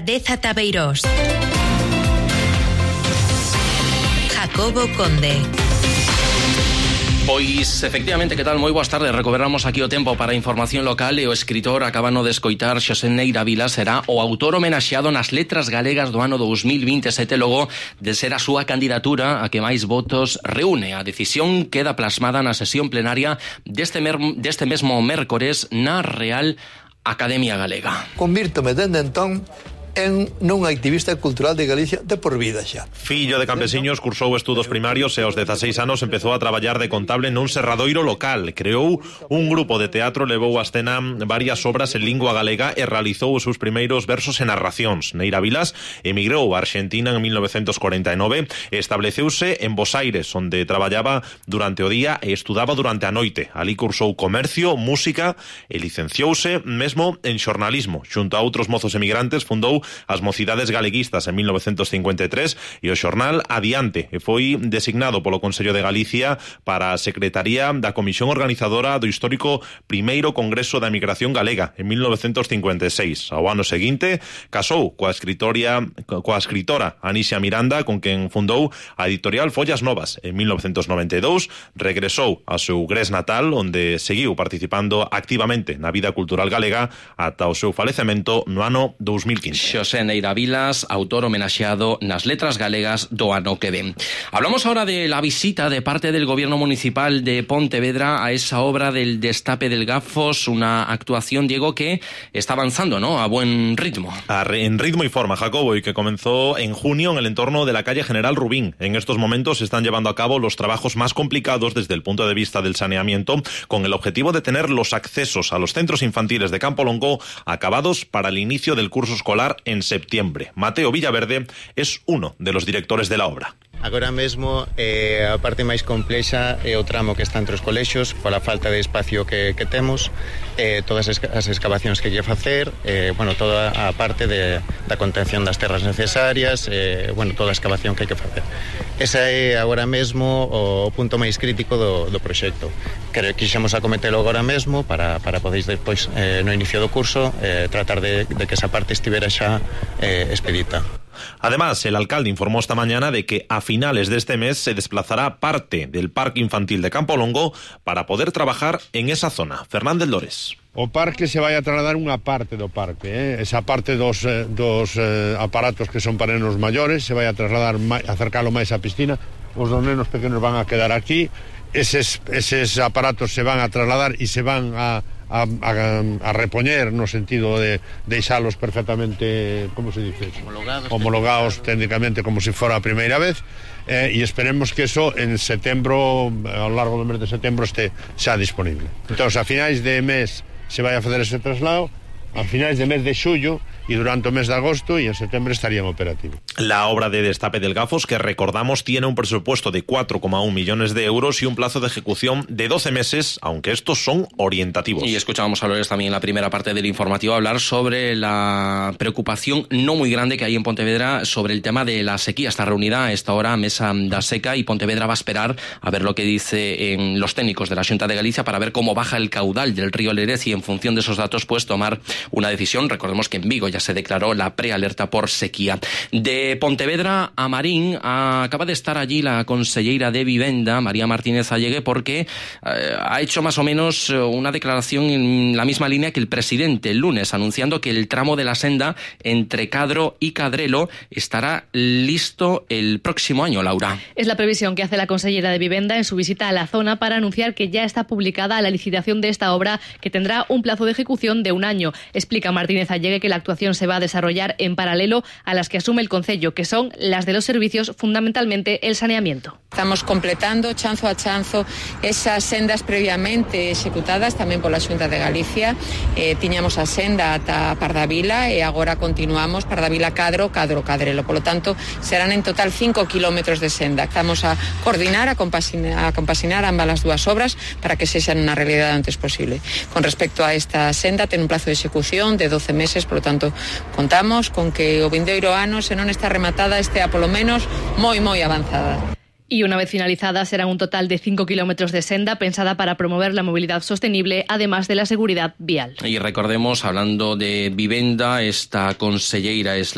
de Zatabeirós. Jacobo Conde. Pois, efectivamente, que tal? Moi boas tardes. Recuperamos aquí o tempo para a información local e o escritor acabano de escoitar Xosé Neira Vilas será o autor homenaxeado nas letras galegas do ano 2027 logo de ser a súa candidatura a que máis votos reúne. A decisión queda plasmada na sesión plenaria deste mesmo mércores na Real Academia Galega. Convírtome dende entón en non activista cultural de Galicia de por vida xa. Fillo de campesiños, cursou estudos primarios e aos 16 anos empezou a traballar de contable nun serradoiro local. Creou un grupo de teatro, levou a escena varias obras en lingua galega e realizou os seus primeiros versos e narracións. Neira Vilas emigrou a Argentina en 1949 e estableceuse en Bos Aires, onde traballaba durante o día e estudaba durante a noite. Alí cursou comercio, música e licenciouse mesmo en xornalismo. Xunto a outros mozos emigrantes fundou as Mocidades Galeguistas en 1953 e o xornal Adiante e foi designado polo Consello de Galicia para a Secretaría da Comisión Organizadora do histórico Primeiro Congreso da Emigración Galega en 1956. Ao ano seguinte casou coa escritora Anisia Miranda, con quen fundou a editorial Follas Novas. En 1992 regresou ao seu Gres natal, onde seguiu participando activamente na vida cultural galega ata o seu falecemento no ano 2015. Xosé Neira Vilas, autor homenaxeado nas letras galegas do ano que ven. Hablamos ahora de la visita de parte del Gobierno Municipal de Pontevedra a esa obra del destape del Gafos, una actuación, Diego, que está avanzando, ¿no?, a buen ritmo. En ritmo y forma, Jacobo, y que comenzó en junio en el entorno de la calle General Rubín. En estos momentos se están llevando a cabo los trabajos más complicados desde el punto de vista del saneamiento, con el objetivo de tener los accesos a los centros infantiles de Campo Longo acabados para el inicio del curso escolar en septiembre. Mateo Villaverde es uno de los directores de la obra. Agora mesmo a parte máis complexa é o tramo que está entre os colexios pola falta de espacio que temos, todas as excavacións que hai que facer, toda a parte da contención das terras necesarias, toda a excavación que hai que facer. Esa é agora mesmo o punto máis crítico do proxecto. Quixemos acometelo agora mesmo para podeis despois no inicio do curso tratar de que esa parte estivera xa expedita. Además, el alcalde informó esta mañana de que a finales de este mes se desplazará parte del Parque Infantil de Campo Longo para poder trabajar en esa zona. Fernández Lores. O parque se vai a trasladar unha parte do parque, esa parte dos aparatos que son para nenos maiores se vai a trasladar, acercalo máis á piscina. Os dos nenos pequenos van a quedar aquí, eses aparatos se van a trasladar e se van a repoñer no sentido de deixalos perfectamente, como se dice? Homologados técnicamente como se fora a primeira vez, e esperemos que eso en setembro, ao largo do mes de setembro, este xa disponible. Entón, a finais de mes se vai a facer ese traslado, a finais de mes de xullo y durante el mes de agosto, y en septiembre estarían operativos. La obra de destape del Gafos, que recordamos tiene un presupuesto de 4,1 millones de euros y un plazo de ejecución de 12 meses, aunque estos son orientativos. Y escuchábamos a Lores también en la primera parte del informativo hablar sobre la preocupación no muy grande que hay en Pontevedra sobre el tema de la sequía. Está reunida a esta hora Mesa da Seca y Pontevedra va a esperar a ver lo que dicen los técnicos de la Xunta de Galicia para ver cómo baja el caudal del río Lérez y en función de esos datos pues tomar una decisión. Recordemos que en Vigo ya se declaró la prealerta por sequía. De Pontevedra a Marín acaba de estar allí la conselleira de Vivenda, María Martínez Allegue, porque ha hecho más o menos una declaración en la misma línea que el presidente el lunes, anunciando que el tramo de la senda entre Cadro y Cadrelo estará listo el próximo año, Laura. Es la previsión que hace la consellera de Vivenda en su visita a la zona para anunciar que ya está publicada la licitación de esta obra, que tendrá un plazo de ejecución de un año. Explica Martínez Allegue que la actuación se va a desarrollar en paralelo a las que asume el Concello, que son las de los servicios, fundamentalmente el saneamiento. Estamos completando chanzo a chanzo esas sendas previamente executadas tamén pola Xunta de Galicia. Tiñamos a senda ata Pardavila e agora continuamos Pardavila Cadro, Cadro Cadrelo. Polo tanto, serán en total 5 kilómetros de senda. Estamos a coordinar, a compasinar ambas as dúas obras para que sexan unha realidade antes posible. Con respecto a esta senda, ten un plazo de execución de 12 meses, polo tanto, contamos con que o vindeiro ano, se non está rematada, estea polo menos moi avanzada. Y una vez finalizadas serán un total de 5 kilómetros de senda pensada para promover la movilidad sostenible, además de la seguridad vial. Y recordemos, hablando de vivenda, esta conselleira es